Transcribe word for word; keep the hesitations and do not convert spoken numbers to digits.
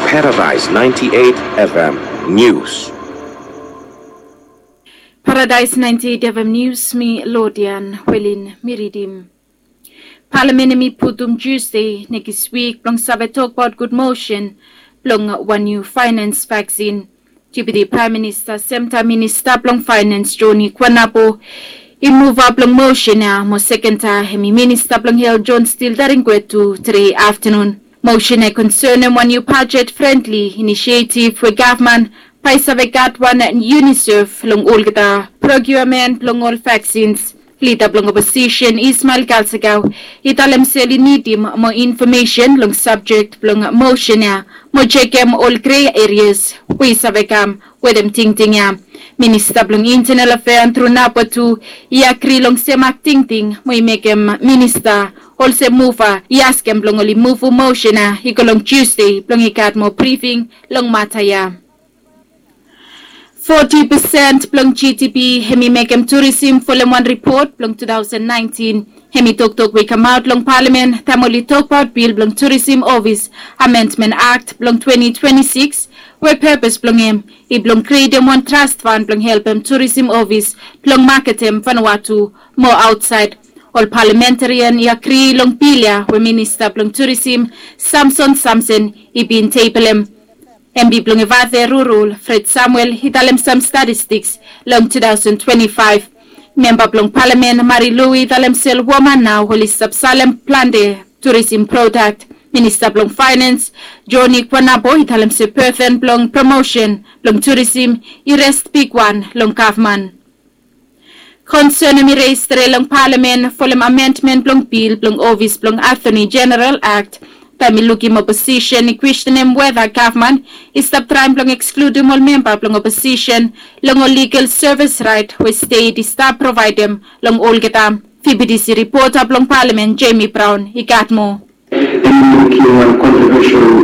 Paradise ninety-eight F M News. Paradise ninety-eight F M News, mi Lodian Welin mi ridim. Palamen hemi putum Tuesday nekis wik blong save tokbaot gud mosen blong wan niu faenens vaksin. Deputi Praem Minista semtaem Minista blong Faenens Joni Kwanabo i muvap long mosen ya mo sekenta hemi Minista blong Helt John Steele Daringwe tu tede aftanun. Mosen ya i konsenem wan niu bajet frendli inisietiv we gavman bae i save gat wan UNICEF long olgeta prokiuamen blong ol vaksins. Lida blong oposisen Ismael Kalsakau i talem se oli nidim moa infomesen long sabjek blong mosen ya mo jekem ol grei erias we i save kam wetem tingting ya. Minista blong Intenel Afea Andrew Nabo tu i agri long semak tingting mo i mekem minista olsem muva i askem blong oli muvum mosen ya i go long Tuesday blong i gat moa brifing long mata ya. Foti pesen blong GDP hemi mekem turisim folem wan ripot blong two thousand nineteen. Hemi toktok we i kamaot long palamen taem oli tokbaot bil blong Turisim Ofis Amendment Akt blong twenty twenty-six we pepes blong hem i blong krietem wan trast fan blong helpem turisim ofis blong maketem Vanuatu mo aotsaed. Ol palamentarian i agri long bil ya we Minista blong Turisim Samson Samson i bin tebelem. Emdi blong Evate Rurul Fred Samuel i talem sam statistiks long two thousand twenty-five. Memba blong palamen Mari Lui i talem se ol woman nao oli stap salem plante turisim prodak. Minista blong Faenens Joni Kwanabo i talem se boden blong promosen blong turisim i res bigwan long gavman. Konsen hemi res tede long palamen folem amendmen blong bil blong ofis blong Atoni Jeneral Akt taem i lukim oposisen i kwestenem weta gavman i stap traem blong ekskludim ol memba blong oposisen long ol ligal sevis raet we stet i stap provaedem long olgeta. VBTC ripota blong palamen Jamie Brown i gat moa. Hemi mekem wan kontrovesial